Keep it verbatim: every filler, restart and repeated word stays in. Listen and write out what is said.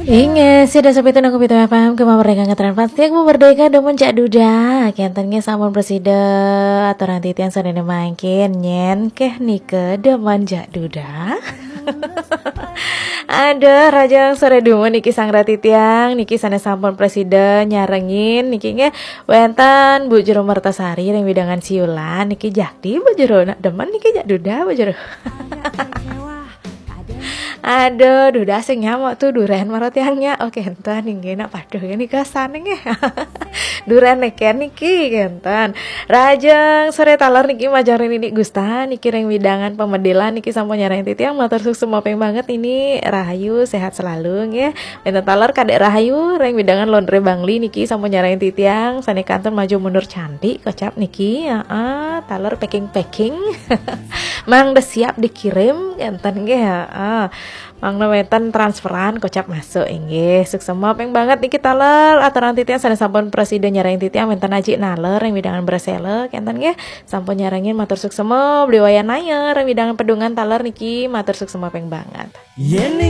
Inggih, sida sapitu nang Pitu F M, kemawon merdeka ngetren plastik, merdeka demen cak duda. Kenten nggih sampun presida, aturan titiang sadene mangkin, nyen keh nika demen cak duda. Aduh, raja sore dumun niki sang ratitiang, niki sane sampun presida nyarengin, niki nggih wenten Bu Jero Mertasari ring widangan Siulan, niki jakti Bu Jero, nak demen niki cak duda Bu Jero. Aduh, duda sing nyamuk tuh duren marot tiangnya. Oke, enten inggih nak paduh ini kesan nggih. Duren neken niki kenten. Rajeng sore taler niki majeng ring Nini Gusta niki ring widangan pemedilan niki sampun nyarengin titiang matur suksma ping banget ini rahayu sehat selalu nggih. Enten taler Kadek Rahayu ring widangan Londre Bangli niki sampun nyarengin titiang sane kantun maju mundur cantik kocap niki. Heeh, taler packing-packing. Mang udah siap dikirim kenten nggih, heeh. Mangda wenten transferan kocap masuk inggih. Suksma ping banget niki taler aturan titiang sane sampun presida nyarengin titiang wenten Aji Naler ring widangan Bresela kenten nggih. Sampun nyarengin matur suksma Bli Wayan Naya ring widangan Pedungan taler niki matur suksma ping banget. Yen